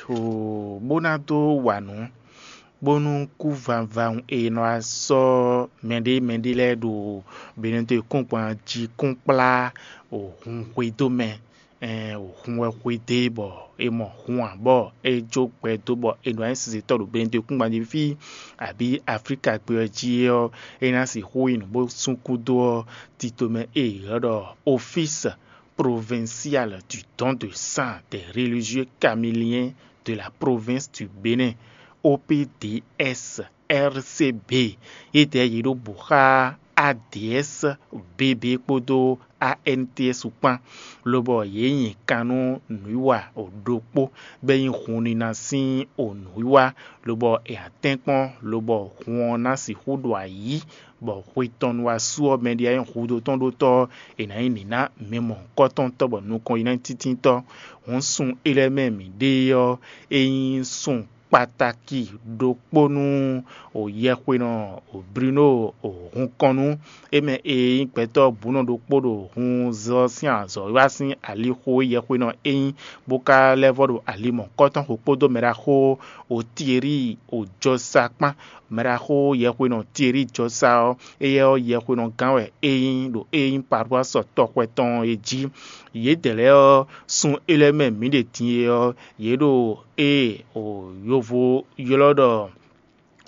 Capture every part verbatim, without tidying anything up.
o bó ná dó wa nǔ, bónú kú vavawun e nɔ wá sɔ́ mɛɖé mɛɖé lɛ́ɛ ɖo Benɛto kúngban jí kún kplá o hun xwedó mɛ. Ɛn o hun wɛ xwedó e bɔ è mɔ hun ǎ bɔ é jó gbɛ dó bɔ è nɔ wá nyí sinsɛntɔ́ ɖo Benɛto kúngban jí fí, abǐ Aflíka gbé ɔ́ jí é ɔ́, é ná sixú nyí nǔ bó sú kúdó ɔ́, tito mɛ e è ylɔ́ ɖɔ Office Provincial du Don de Sang des Religieux Caméliens de la Province du Bénin, O P D S R C B, yědɛɛ yě ɖo bǔ xá A D S B B kpódó A N T S kpán, lobɔ yě nyi kan nú nǔwiwa ɖokpó, bɔ é nyí hunnina sín nǔwiwa, lobɔ è nǎ tɛ́nkpɔ́n, lobɔ hun ɔ́ ná sixú ɖo ayǐ, bɔ xwe tɔn nu wá su ɔ́, mɛ ɖé wá nyí hudó tɔn ɖó tɔ́ ɔ́, è nǎ nyí nǐ ná mɛ mɔ̌hunkɔtɔn tɔ́ bɔ nukɔn yi ná nyí tíntínntɔ́. Hǔn sun é lɛ́ɛ mɛ mǐ ɖe ɔ́, é nyí sun kpatáki ɖokpó nú yɛhwenɔ Bruno Hunkɔnnu, é mɛ e nyí gbɛtɔ́ bǔnɔ ɖokpó ɖo hun zɔ sín azɔ̌wiwa sín alixo e yɛhwenɔ é nyí, bó ka lɛ́ vɔ ɖo ali mɔ̌hunkɔtɔn xo kpódó mɛɖaxó Otieri Ojɔsa kpán. Mɛɖaxó yɛhwenɔ Tieri Jɔsa ɔ́, éyɛ́ ɔ́, yɛhwenɔ gán wɛ é nyí ɖo é nyí Parwásɔ tɔxwɛ tɔn e jí. Yědɛɛ lɛ́ɛ ɔ́, sun é lɛ́ɛ mɛ mǐ ɖe din e ɔ́, yě ɖo ée o yovo ylɔ́ ɖɔ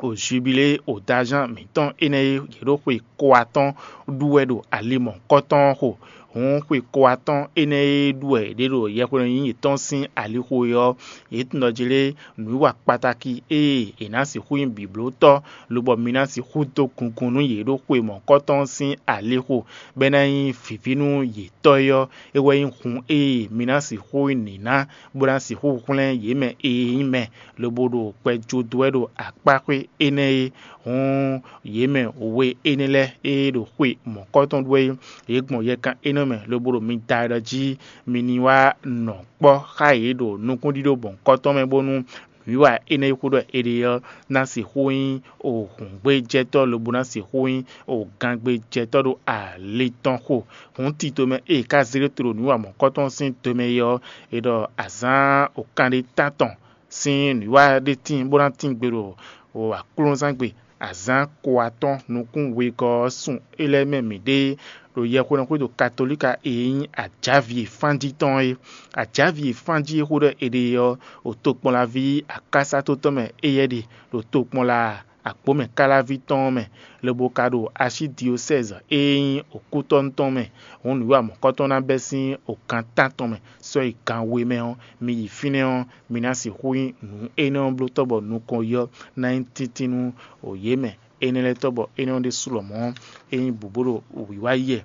o jubilé o daján mǐtɔn énɛ́ e yě ɖo xwe ko atɔ́ɔ́n ɖu wɛ ɖo ali mɔ̌hunkɔtɔn ɔ́ xo. Hǔn xwe ko atɔ́ɔ́n énɛ́ e ɖu wɛ yě ɖe ɖo yɛhweɖɔ nyínyí yětɔn sín alixo é ɔ́, yě tunwun ɖɔ jlé nǔwiwa kpatáki e è nǎ sixú nyí bǐblótɔ́, lobɔ mi ná sixú dó gungun nú yě ɖo xwe mɔ̌hunkɔtɔn sín alixo, bɔ é ná nyí vǐví nú yě tɔ́ é ɔ́, é wɛ nyí hun e mi ná sixú nǐ ná, bó ná sixú hwlɛ́n yě mɛ e nyí mɛ, lobo ɖo gbɛ jó dó wɛ ɖo akpáxwé énɛ́ é. Hǔn yě mɛ we énɛ́ lɛ́ɛ e ɖo xwe mɔ̌kɔ́tɔn ɖu wɛ é, yě gbɔn yɛkan énɛ́ mɛ, lobo ɖo mi da ɖɔ jí mi ní wá nɔ kpɔ́ xá yě ɖo nukúnɖíɖó mɔ̌kɔ́tɔn mɛ, bónú nǔwiwa énɛ́ e xó ɖɔ è ɖe ɔ́ ná sixú nyí hǔngbéjɛtɔ́ lobo ná sixú nyí gangbéjɛtɔ́ ɖo ali tɔn xo. Hǔn tito mɛ e è ka zé ɖó te ɖo nǔwiwa mɔ̌kɔ́tɔn sín do mɛ é ɔ́, è ɖɔ azǎn kanɖétántɔn sín nǔwiwa ɖé tíin bó ná tín gbe ɖo aklúnɔzángbe. Azǎn ko atɔ́ɔ́n nukún wegɔ́ ɔ́ sun é lɛ́ɛ mɛ mǐɖée ɖo yɛhweɖɔxwé ɖo Katolíka e nyí ajǎvi e fánjí tɔn é. Ajǎvi e fánjí e xó ɖɔ è ɖe ɔ́, ɖo tokpɔnlaví akásátó tɔn mɛ éyɛ́ ɖe, ɖo tokpɔnla agbǒmɛ káláví tɔn ɔ́ mɛ, lobo ka ɖo asyídiosɛ́zi e nyí okútɔ́nu tɔn mɛ. Hǔn nǔwiwa mɔ̌kɔ́tɔn ná bɛ́ sín okan tántɔn mɛ sɔ́ yi gan we mɛ ɔ́, mi yi fínɛ́ ɔ́, mi ná sixú nyí nǔ énɛ́ ɔ́ blótɔ́ bɔ nukɔn yi ɔ́ ná nyí tíntín nú yě mɛ énɛ́ lɛ́ɛ tɔ́ bɔ énɛ́ ɔ́ ɖésú lɔmɔ̌ é nyí bǔ bó ɖo wǐwá yi wɛ.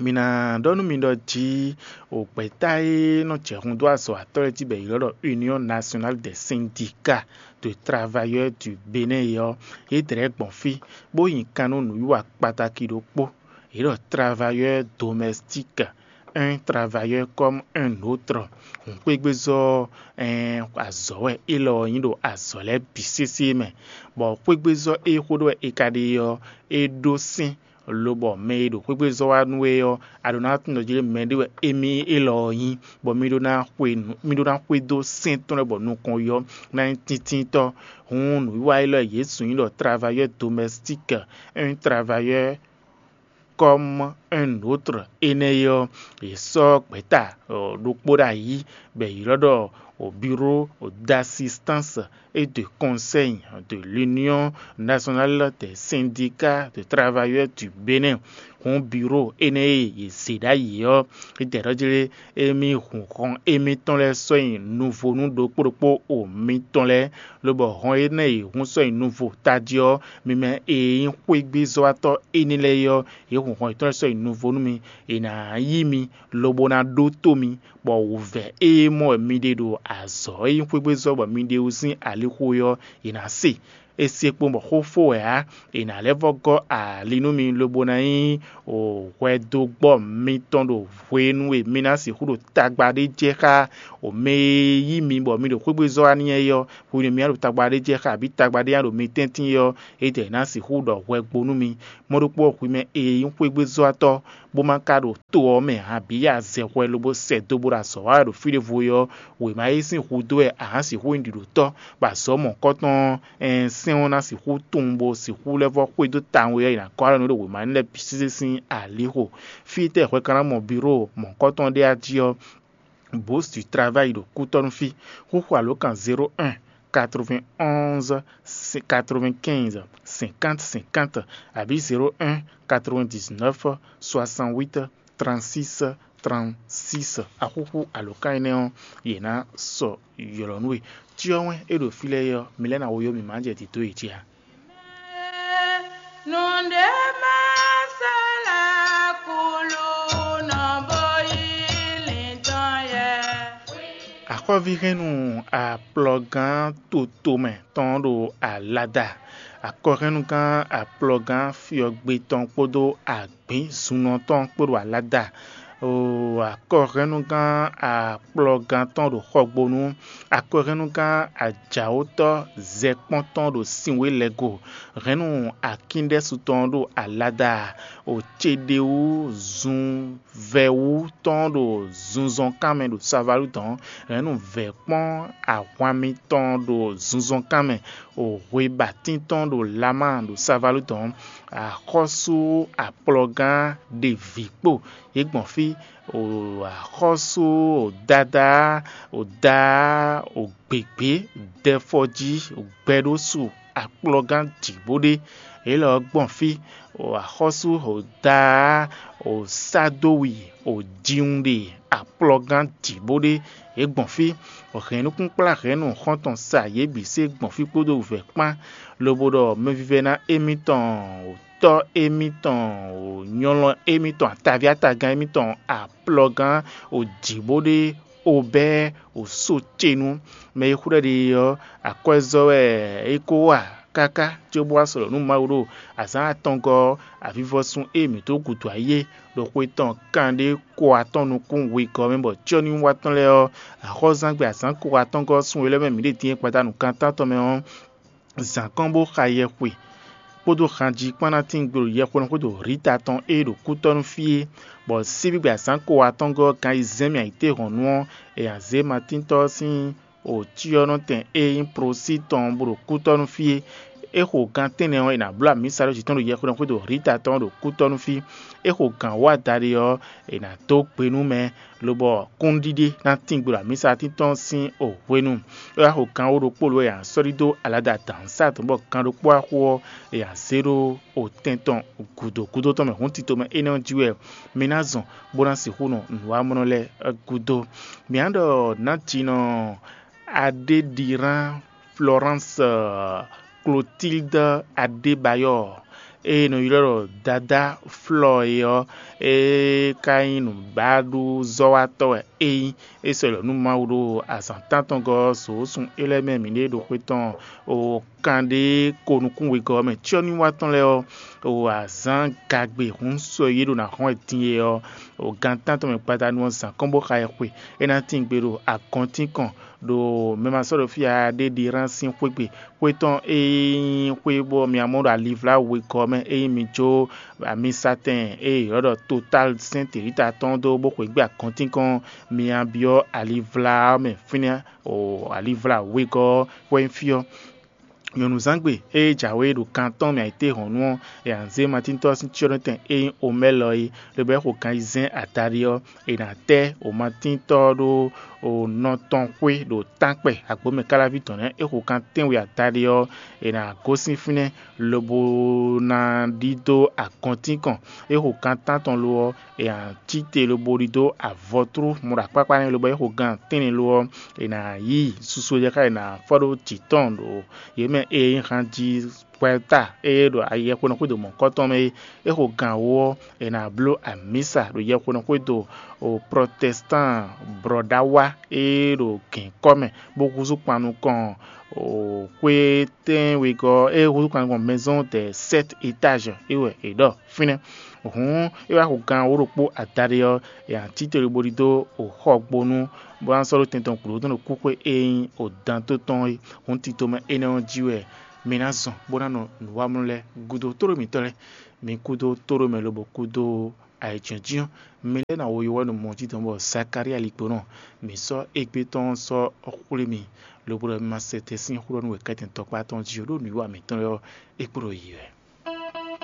Mi ná ɖɔ nú mi ɖɔ jí o gbɛ̌ta e nɔ jɛ hun dó azɔ̌watɔ́ lɛ́ɛ jí bɔ è ylɔ́ ɖɔ Union Nationale des Syndicats de Travailleurs du Bénin é ɔ́, yě dlɛ̌ gbɔn fí, bó nyi kan nú nǔwiwa kpatáki ɖokpó. Yě ɖɔ travailleur domestique, un travailleur comme un autre. Hǔn xwégbézɔ́ ɛn azɔ̌ wɛ élɔ́ ɔ́ nyí ɖo azɔ̌ lɛ́ɛ bǐ sésé mɛ, bɔ xwégbézɔ́ e xó ɖɔ wɛ è ka ɖe ɔ́, é ɖó sɛ́n, lobɔ mɛ e ɖo xwégbézɔ́ wá nú we ɔ́, a ɖǒ ná tunwun ɖɔ jí mɛɖé wɛ émí élɔ́ ɔ́ nyí, bɔ mí ɖó ná xwe nǔ- mí ɖó ná xwedó sɛ́n tɔn lɛ́ɛ bɔ nukɔn yi ɔ́ ná nyí tíntíntɔ́. Hǔn nǔwiwa élɔ́ e Jezu nyí ɖɔ travailleur domestique, un travailleur comme un autre énɛ́ é ɔ́, yě sɔ́ gbɛ̌ta ɖokpó ɖ'ayǐ, bɔ è ylɔ́ ɖɔ Bureau d'assistance et de conseil de l'Union Nationale des Syndicats de Travailleurs du Bénin. Hǔn bureau énɛ́ e yě zě ɖ'ayǐ ɔ́, é jɛ ɖɔ jí lé, émí hun hɔn émítɔn lɛ́ɛ sɔ́ nyi nuvo nú ɖokpó ɖokpó o mitɔn lɛ́ɛ, lobɔ hɔn énɛ́ e hun sɔ́ nyi nuvo tají ɔ́, mi mɛ e nyí xwégbézɔ́watɔ́ énɛ́ lɛ́ɛ é ɔ́, yě hun hɔn yětɔn lɛ́ɛ sɔ́ nyi nuvo nú mi; è nǎ yí mi, lobo ná ɖótó mi, bɔ wǔvɛ́ e mɔ wɛ mi ɖe ɖo azɔ̌ e nyí xwégbézɔ́ bɔ mi ɖe wú sín alixo é ɔ́, è nǎ se. È se kpowun bɔ xó fó wɛ ǎ; è nǎ lɛ́ vɔ́ gɔ́ ali nú mi, lobo ná nyí hwɛdogbɔ́ mitɔn ɖo hwenu e mi ná sixú ɖo tagba ɖé jɛ xá mɛ e yí mi bɔ mi ɖo xwégbézɔ́ wá n'i é ɔ́. Hwenu e mi ná ɖo tagba ɖé jɛ xá abǐ tagba ɖé ná ɖo mi tɛ́ntin é ɔ́, édɛɛ ná sixú ɖɔ hwɛ gbo nú mi. Mɔ̌ ɖokpó ɔ́, hwi mɛ e nyí xwégbézɔ́watɔ́, bó ma ka ɖo to ɔ́ mɛ ǎ, bǐ yi azɛhwɛ lobo sɛ do bó ɖo azɔ̌ wa wɛ ɖo fí ɖěvo é ɔ́, wěma e sín hudó wɛ a nǎ sixú nyí ɖiɖǒtɔ́, bɔ azɔ̌ mɔ̌hunkɔtɔn ɔ́, ɛɛn sɛ́n ɔ́ ná sixú tunwun bó sixú lɛ́ vɔ́ xwedó tawun e ɔ́, è nǎ gɔ́ alɔ nú ɖo wěma énɛ́ lɛ́ɛ bǐ sésé sín alǐxo. Fí tɛ́ hwɛ ka ná mɔ biró mɔ̌hunkɔtɔn ɖé a jí ɔ́, Bourse du Travail ɖo kútɔ́nú fí. Xúxú alǒkan zéro un quatre-vingt-onze quatre-vingt-quinze cinquante cinquante abǐ zéro un quatre-vingt-dix-neuf soixante-huit trente-six trente-six. Axúxú alǒkan énɛ́ ɔ́, yě ná sɔ́ ylɔ̌ nú we. Cyɔ wɛn e ɖo fí lɛ́ɛ é ɔ́, mi lɛ́ ná wo yó mǐ má jɛ dǐdó yě jí a? Nǔɖé má sɔ́ lɛ́ kúlú nɔ bó yí lǐndɔn yɛ. Akɔ́ví hɛ́nnu akplɔ́gán totomɛ tɔn ɖo alada. Akɔhɛ́nnugán akplɔ́gán fyɔ́gbé tɔn kpódó agbǐnzunnɔ tɔn kpó ɖo alada. Oo, akɔhɛ́nnugán akplɔ́gán tɔn ɖo xɔgbónu. Akɔhɛ́nnugán ajǎwótɔ́ zɛkpɔ́n tɔn ɖo sinwé lɛ́ go. Hɛ̌nnu akíndɛ́su tɔn ɖo alada. O ceɖewú zun vɛwú tɔn ɖo zunzɔnkan mɛ ɖo savalú dɔn. Hɛ̌nnu vɛ̌kpɔ́n ahwan mitɔn ɖo zunzɔnkan mɛ. O hwebatín tɔn ɖo Lama ɖo savalú dɔn. Axɔ́sú akplɔ́gán ɖe vǐ kpo yě gbɔn fí. O axɔ́sú, o dadá, o daá, o gběgbé, dɛfɔjí, o gbɛɖósu, akplɔ́gán jǐ bó ɖe. Élɔ́ ɔ́ gbɔn fí, o axɔ́sú, o daá, o sádówi, o jiwunɖe, akplɔ́gán jǐ bó ɖe. Yě gbɔn fí, o hɛ̌nnukúnkplá hɛ̌nnu xɔ́ntɔn sa yě bǐ sé gbɔn fí kpódó vɛ̌ kpán, lobo ɖɔ mɛvívɛ́ná émítɔn, o tɔ́ émítɔn, o nyɔlɔn émítɔn, ataví atagán émítɔn, akplɔ́gán, o jǐ bó ɖe, o bɛ́, o só ce nú. Mɛ e xwlɛ́ ɖe é ɔ́, akwɛ́zɔ́ wɛ é ko wa káká cóbó wá sɔ́ ɖɔ nú Mawu ɖo azǎn atɔngɔ́ ɔ́, avivɔsun e mǐ dó gǔdo ayé ɖo xwe tɔn kanɖé ko atɔn nukún wegɔ́ mɛ bɔ cyɔ́núwiwa tɔn lɛ́ɛ ɔ́, axɔ́zán gbe azǎn ko atɔngɔ́ ɔ́ sín we lɛ́ɛ mɛ mǐ ɖe din e gbadanu kan tántɔn mɛ ɔ́, zǎn kɔn bó xa yɛxwe kpódó hanjí kpán ná tín gbe ɖo yɛxwenu xwédo Rita tɔn e ɖo kútɔ́ nú fí é, bɔ síbígbe azǎn ko atɔngɔ́ ɔ́ gan yi zɛ́n mì ayǐtéhɔ̌nnu ɔ́, è nǎ zé matíntɔ́ ɔ́ sín o cyɔ́nɔtɛn e nyí prosí tɔn bó ɖo kútɔ́ nú fí é. É xo gan tɛ́nnɛ ɔ́, è nǎ bló amǐsa ɖó jǐ tɔn ɖo yɛxwenu xwédo Rita tɔn ɖo kútɔ́ nú fí. É xo gan wǒ adaɖé ɔ́, è nǎ dó gbe nú mɛ, lobɔ kúnɖíɖé ná tín gbe ɖo amǐsa tíntɔ́n sín o hwenu. É wá xo gan wó ɖokpó lǒ e a sɔ́ ɖidó alada dǎnsá tɔn bɔ gan ɖokpó wá xo ɔ́, è nǎ zé ɖó o tɛn tɔn gǔdo gúdo tɔn mɛ hǔn tito mɛ énɛ́ ɔ́ jí wɛ mi ná zɔn bó ná sixú nɔ nǔwamlɔ lɛ́ɛ gúdo. Mǐ ná ɖɔ nǎjinɔ Adéɖirán Florence Clotilde Adébáyɔ e è nɔ ylɔ́ ɖɔ Dadá Flɔ é ɔ́, é ka nyí nǔbáɖúzɔ́watɔ́ wɛ é nyí. É sɔ́ yi lɔ nú Mawu ɖo azǎn tántɔngɔ́ ɔ́, sǒ sun é lɛ́ɛ mɛ mǐɖée ɖo xwé tɔn o kanɖé ko nukún wegɔ́ ɔ́ mɛ. Cyɔ́núwa tɔn lɛ́ɛ ɔ́, o azǎn gagbe hun sɔ́ yě ɖo nǎ hɔn wɛ din é ɔ́, o gan tántɔn mɛ gbadanu ɔ́ zǎn kɔn bó xa ɛ xwe. É ná tín gbe ɖo agɔntín kɔn ɖo mɛ ma sɔ́ ɖo fí a ɖé ɖi rán sín xwé gbe. Xwé tɔn e nyí xwé bɔ mia mɔ ɖo alivlá wegɔ́ mɛ, ényí mi jó amisatɛn e è ylɔ́ ɖɔ Total Sainte Rita tɔn dó bó xweyǐgbe agɔntínkɔn, mi nǎ byɔ́ alivlá ɔ́ mɛ fínɛ́ o alivlá wegɔ́ ɔ́ wɛ nyí fí ɔ́. Nyɔ̌nuzǎngbe e jǎwe ɖo kan tɔn mɛ ayǐtéhɔ̌nnu ɔ́, è nǎ zé matíntɔ́ ɔ́ sín cyɔ́nɔtɛn e nyí omɛ́lɔ é, lobo é xo kan ayizɛ́n adaɖé ɔ́, è nǎ tɛ́ o matíntɔ́ ɔ́ ɖó o nɔ tɔn xwé ɖo tánkpɛ agbǒmɛ káláví tɔn nɛ́. É xo kan tɛ́nwe adaɖé ɔ́, è nǎ gosín fínɛ́ lobo ná ɖidó agɔntínkɔn. É xo kan tántɔn lo ɔ́, è nǎ cí te lobo ɖidó avɔtrú mɔ ɖo akpákpá nɛ́, lobo é xo gan tɛ́nnɛ lo ɔ́, è nǎ yí susu e jɛ xá è nǎ fɔ́ ɖó jǐ tɔn ɖo yě mɛ e nyí han jí hwɛta e ɖo ayɛhwenu xwédo mɔ̌hunkɔtɔn mɛ é. É xo gan wó ɔ́, è nǎ bló amǐsa ɖo yɛhwenu xwédo o protestan blɔ̌ɖawa e ɖo gěnkɔ́ mɛ, bó húzú kpan nukɔn o xwé tɛ́nwegɔ́ e húzú kpan nukɔn maison de sept étages é wɛ è ɖɔ fínɛ́. Hǔn é wá xo gan wó ɖokpó adaɖé ɔ́, è nǎ cí te lobo ɖidó o xɔgbónu, bó ná sɔ́ ɖó tɛn tɔn gǔdo tɔn ɖo kúxwé e nyí o dan tó tɔn é. Hǔn tito mɛ énɛ́ ɔ́ jí wɛ mi ná zɔn bó ná nɔ nǔwamlú lɛ́ɛ gúdo tóɖó mǐtɔn lɛ́ɛ. Mi kúdó tóɖó mɛ lobo kúdó Ayǐjínjɔ́n mɛ lɛ́ɛ ná wo yowɛ́nú mɔ jí dɔn bɔ Zakalía ligbónɔ mǐ sɔ́ égbé tɔn sɔ́ xwlé mì, lobo ɖɔ mi ma se te sín xó ɖɔ nú wěkɛ́tɛn tɔkpá tɔn jí ó, ɖó nǔwiwa mǐtɔn lɛ́ɛ ɔ́, é kpo ɖo yi wɛ.